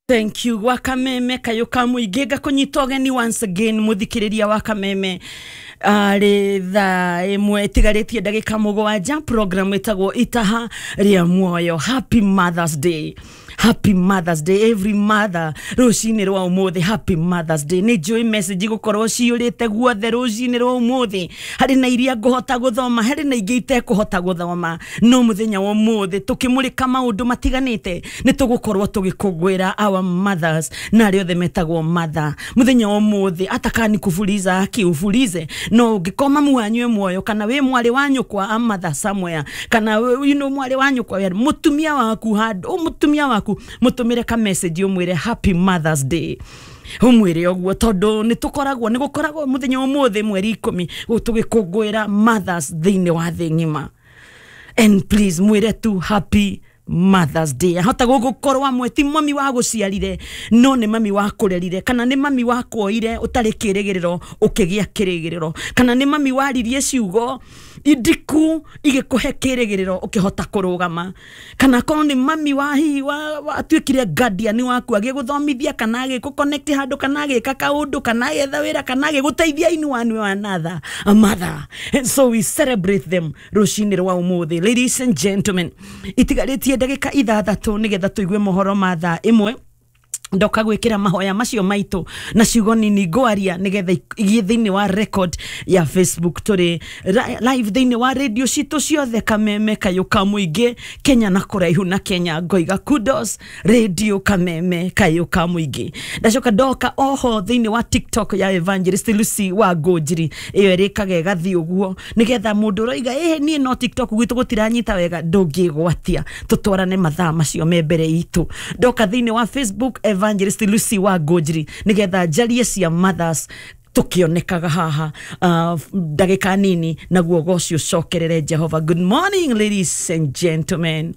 Thank you gwa Kameme kayå ka mũingĩ. Ngakũnyita ũgeni once again, mũthikĩrĩria wa Kameme. Arĩ thaa 1 ĩtigarĩtie ndagĩka 7, program ĩtagwo Itaha rĩa Muoyo. Happy Mothers Day, happy Mothers Day, every mother rũcinĩ rwa ũmũthĩ. Happy Mothers Day. Nĩ njũĩ message gũkorwo ciyũrĩte guothe rũcinĩ rwa ũmũthĩ. Harĩ na iria ngũhota gũthoma, harĩ na ingĩ itekũhota gũthoma, no mũthenya wa ũmũthĩ tũkĩmũrĩka maũndũ matiganĩte, nĩ tũgũkorwo tũgĩkũngũĩra our mothers na arĩa othe metagwo mother mũthenya wa ũmũthĩ. Atakani kufuliza akiufulize, no ũngĩkorwo mamu wanyu e muoyo, kana wĩ mwarĩ wa nyũkwa, a mother somewhere, kana mwarĩ wa nyũkwa, mũtumia waku handũ, mũtumia waku mũtũmĩre ka message, ũmwĩre happy Mothers Day, ũmwĩre ũguo, tondũ nĩ tũkoragwo, nĩ gũkoragwo mũthenya wa ũmũthĩ mweri 10 tũgĩkũngũĩra mothers thĩinĩ wa thĩ ng'ima. And please mwĩre tu happy Mothers Day. Ahota gũgũkorwo amwe ti mami wa gũciarire, no nĩ mami wa kũrerire, kana nĩ mami wa kuoire ũtarĩ kĩrĩgĩrĩro ũkĩgĩa kĩrĩgĩrĩro, kana nĩ mami waririe ciugo indiku igĩkũhe kĩrĩgĩrĩro ũkĩhota kũrũgama, kana korwo nĩ mami wa hihi watuĩkire guardian waku, agĩgũthomithia, kana agĩkũ handũ, kana agĩka kaũndũ, kana agĩetha wĩra, kana agĩgũteithia in one way or another, a mother. And so we celebrate them rũcinĩ rwa ũmũthĩ. Ladies and gentlemen, itigarĩtie ndagĩka 6 nĩgetha tũigue mohoro ma thaa 1. Ndoka gwikira mahoya macio maitũ na ciugo nini ngwaria nigetha igie thĩinĩ wa record ya Facebook. Tũrĩ live thĩinĩ wa radio citũ ciothe, Kameme kayũ ka mũingĩ, Kenya na kũraihu na Kenya. Ngoiga kudos Radio Kameme kayũ ka mũingĩ. Ndacoka ndoka oho thĩinĩ wa TikTok ya Evangelist Lucy wa Ngũnjiri, ĩyo ĩrĩkaga ĩgathiĩ ũguo, nĩgetha mũndũ ũroiga ĩhĩ niĩ no TikTok gwitũ gũtiranyita wega, ndũngĩgwatia. Tũtwarane mathaa macio me mbere itũ. Ndoka thĩinĩ wa Facebook Evangelist Lucy wa Ngũnjiri, nĩgetha njarie cia mothers tukionekaga haha ndagĩka nini, naguo goci ũcokerere Jehova. Good morning, ladies and gentlemen.